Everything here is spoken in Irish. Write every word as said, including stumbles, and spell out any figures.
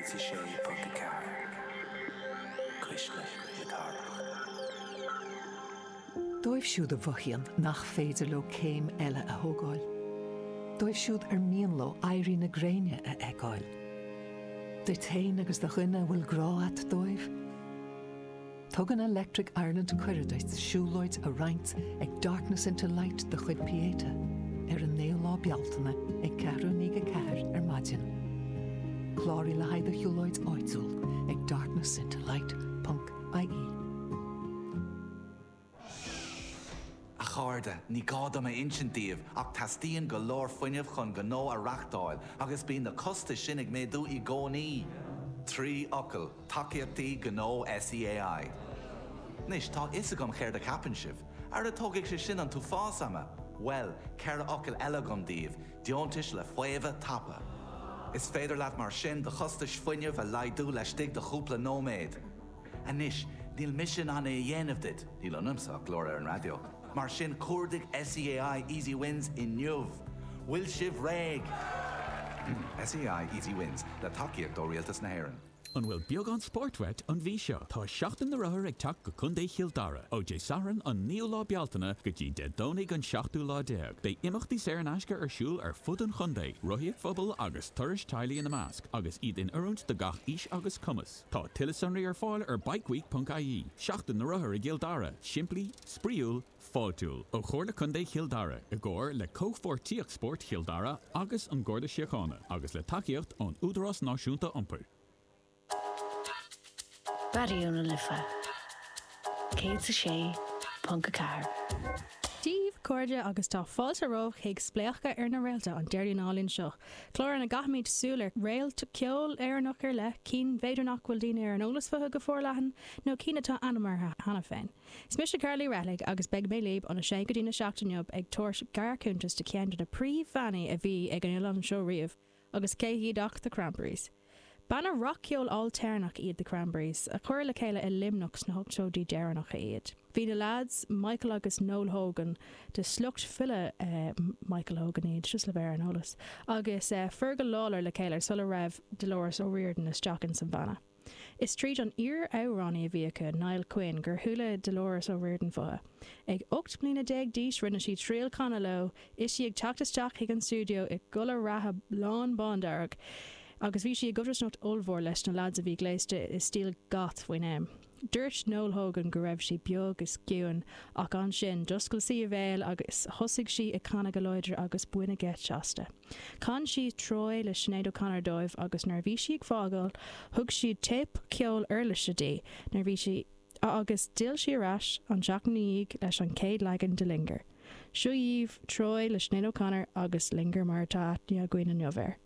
céad a sé ponc a ceathair. Cuisle na Cathrach. Dóibh siúd a mhothaíonn nach féidir leo céim eile a thógáil. Dóibh siúd ar mian leo éirí na gréine a fheiceáil. Duit féin agus do dhuine a bhfuil grá agat dóibh. Tugann Electric Ireland cuireadh duit siúlóid a roinnt ag Darkness into Light de chuid Pieta ar an naoú lá Bealtaine ag ceathrú i ndiaidh a ceathair ar maidin. Cláraigh le haghaidh do shiúlóid áitiúil ag darknessintolight.ie. A chairde, ní gá dom a insint daoibh ach teastaíonn go leor fuinnimh chun gnó a reáchtáil agus bíonn na costais sin ag méadú i gcónaí. Trí fhocal, tacaíochtaí gnó SEAI. Anois tá a fhios agam céard a cheapann sibh, Ara tógfaidh sé sin an t-uafás ama. Well, ceithre fhocal eile agam daoibh, deontais le faomhadh tapa. Is féidir leat mar sin do chostais fuinnimh a laghdú laistigh de chúpla nóiméad. Anois, níl mise in ann é a dhéanamh duit, níl ionamsa ach glór ar an raidió. Mar sin cuardaigh SEAI Easy Wins inniu. Bhfuil sibh réidh. SEAI Easy Wins le tacaíocht ó Rialtas na hÉireann. An bhfuil beagán spóirt uait an mhí seo tá Seachtain na Rothar ag teacht go Contae Chill Dara ó Dé Sathairn an naoú lá Bealtaine go dtí Dé Domhnaigh an seachtú lá déag. Beidh imeachtaí saor in aisce ar siúl ar fud an chontae, rothaíocht phobail agus turais teaghlaigh ina measc, agus iad in oiriúint do gach aois agus cumas. Tá tuilleadh sonraí ar fáil ar bikeweek.ie, Seachtain na Rothar i gCill Dara, simplí, spraíúil, fáiltiúil ó Chomhairle Contae Chill Dara i gcomhar le Comhpháirtíocht Spóirt Chill Dara agus an Garda Síochána agus le tacaíocht ón Údarás Náisiúnta Iompair. Raidió na Life Céad a sé ponc a ceathair. Dia daoibh a chairde agus tá fáilte romhaibh chuig Spléachadh ar na Réalta an Déardaoin álainn seo. Clár ina gcaithimid súil ar réalt ceoil Éireannach ar leith, cinn b'fhéidir nach bhfuil daoine ar an eolas fúthu go forleathan nó cinn atá ainm orthu cheana féin. Is mise Carly Rethlig agus beidh mé libh óna sé go dtí a seacht inniu ag tabhairt gearrchuntas de cheann de na príomhbhannaí a bhí ag an oileán seo riamh, agus cé hiad ach The Cranberries. Banna rac-cheol ailtéarnach iad The Cranberries, a cuireadh le chéile i Luimneach sna hochtóidí deireanacha iad. Bhí na lads Michael agus Noel Hogan de shliocht file uh, Michael Hogan iad just le bheith ar an eolas, agus uh, Fergal Lawler le chéile sula raibh Dolores O'Riordan isteach in san bhanna. Is tríd an iar-amhránaí a bhí acu Niall Quinn gur chuala Dolores O'Riordan fúthu. Ag ocht mbliana déag d'aois rinne sí triail canadh leo, is í ag teacht isteach chuig an stiúideo i gculaith reatha lán bándearg, agus bhí sí i gcodarsnacht ollmhór leis na lads a bhí gléasta i stíl goth faoin am. Dúirt Noel Hogan go raibh sí beag is ciúin ach ansin d'oscail sí a béal agus thosaigh sí ag canadh go láidir agus baineadh geit aisti. Chan sí Troy le Sinéad O'Connor dóibh agus nuair a bhí sí ag fágáil, thug siad téip ceol uirlise di nuair bhí sí agus d'fhill sí ar ais an tseachtain ina dhiaidh leis an chéad leagan de Linger. Seo daoibh Troy le Sinéad O'Connor agus Linger mar atá aithne againn inniu air.